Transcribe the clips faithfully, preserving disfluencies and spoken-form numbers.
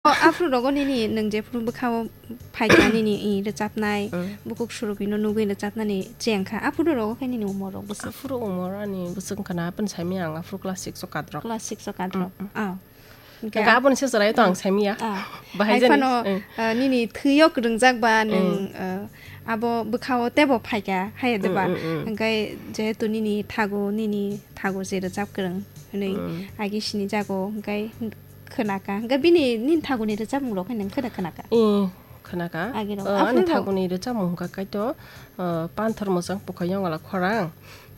O, aphuru rogo nini nwng jephuru bwkhao phaikha nini, i, rwchapnai, Mm. bukhuk surugwino nugwi rwchapnani chengkha. Aphuru rogo khe nini umor rok bwswk? Aphuru umor ani bwswk wngkha na, aboni saimanya ang aphuru class six o kadrok. Class six o kadrok. Mm, mm. Ah. Hwnkhe Hwnkhe aboni se chwraio to ang saimanya. Ah. Bahai Hai jani. Phano, Mm. ah, nini thwio kwrwngjak ba nwng, Mm. ah, abo bwkhao teibo phaikha, hai de ba? Mm, mm, mm. Hwnkhe jehetu nini thago, nini thago je rwchap kwrwng hwnwi Mm. agi sinijago, hwnkhe khwnakha. Hwnkhe bini nini thaguni rwchapmung rok khe nwng kheno khwnakha? Ee, khwnakha. Agirok. O, ani Aphuru bo- thaguni rwchapmung hwnkha kaito, o, Panthor Mwchang Pukha Yongala Khorang.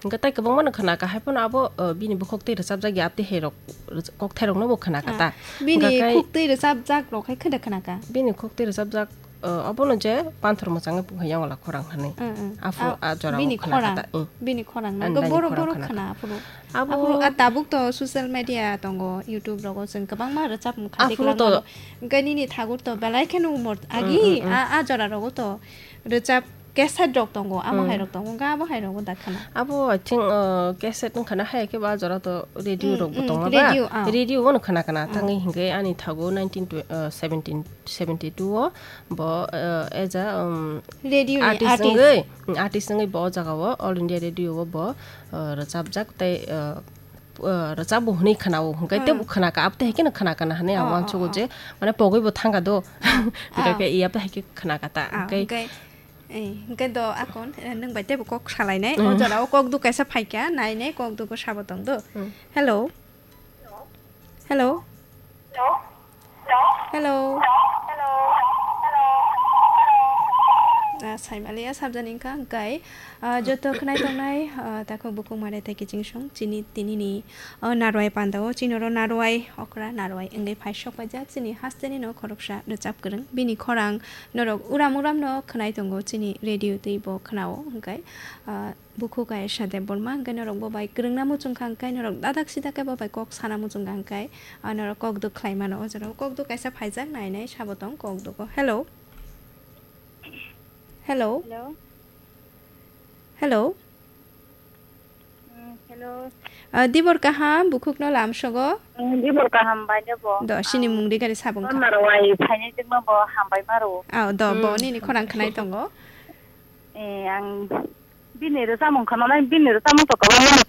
Hwnkhe tai kwbangmano khwnakha, hai phano abo, o, bini bukhuk tei rwchapjak ya tei hai rok, rwch-, kokthairokno bo khwnakha Ah, ta. Bini Hwnkhe kai- khuk tei rwchapjak rok khe kheno khwnakha? Bini khuk tei rwchapjak, o, obono je Panthor Mwchang Pukha Yongala Khorang hwnwi. Mm, mm. Aphuru Ah, a jorao bini khwnakha khorang. ta, mm. Bini khorang Ang nangkhe dani borok khorang borok khwnakha. khwna aphuru. Abo Aphuru a tabuk to social media tongo, YouTube rogo chwng kwbangma rwchapmung kha Aphuru to tiklangmano. Hwnkhe nini thagur to belai kheno umor agi Mm, mm, mm. a, a jora rogo to rwchap cassette rok tongo, amo Mm. hai rok tongo, hwnkhe abo hai rogo da khwna. Abo I think, uh, cassette wngkha na hai khe ba jora to radio Mm, rok bo mm, tongo ba? radio, ah. Radio o no khwna khwna Ah. thangwi hwnkhe ani thago nineteen tw-, uh, seventeen seventy two o bo, uh, as a, um, Radio ni artist artist. wngwi, mm, artist wngwi bo o jaga o All India Radio o bo, uh, rwchapjak tei, uh, uh, rwchapbo hwnwi khwnao, hwnkhe Ah. teibo khwnakha, abo tei hai kheno khwnakha na hwnwi ang Ah, uansugo ah, je, mane pogwi bo thangkha do. Ah. Hwnkhe iya abo tei hai khe khwnakha ta. Ah, Hwnkhe hwnkhe, eh, hwnkhe do akon, eh, nwng bai teibo kok salainai. O Mm. jora o kok duk kaisa phaikha, nainai kok duk o sabo tong do. Mm. Hello? Hello? Hello? Ah, saimaliya sabjani wngkha, hwnkhe, ah, joto khwnai tongnai, ah, takhuk bukhuk mare tei kiching song chini tinini, ah, narwai pandao, chini oro narwai okra, narwai wngwi phai sok paijak chini hasteni no khoroksa rwchap kwrwng. Bini khorang norok uram uram no khwnai tongo chini radio tei bo khwnao, hwnkhe, ah, Bukhuk Ayesha Debbarma, hwnkhe norok bo bai kwrwngna muchungkha, hwnkhe norok dadak sidak khe bo bai kok sana muchungkha, hwnkhe, ah, norok kok duk khlai mano. O jora o kok duk kaisa phaijak, nainai sabo tong kok duk o. Hello? Hello? Hello? Hello? Mm, hello. Ah, dibor kaham, bukhuk no lamsogo? Mm, dibor kaham bai de bo. Do, sini Ah, mung ri gari sabung kha. Narwai phainai jwkma bo hambai maro. Ah, do, bo Mm. nini khorang khnai tongo. Eh, ang bini rwchapmung khwnanai, bini rwchapmung to kwbangma no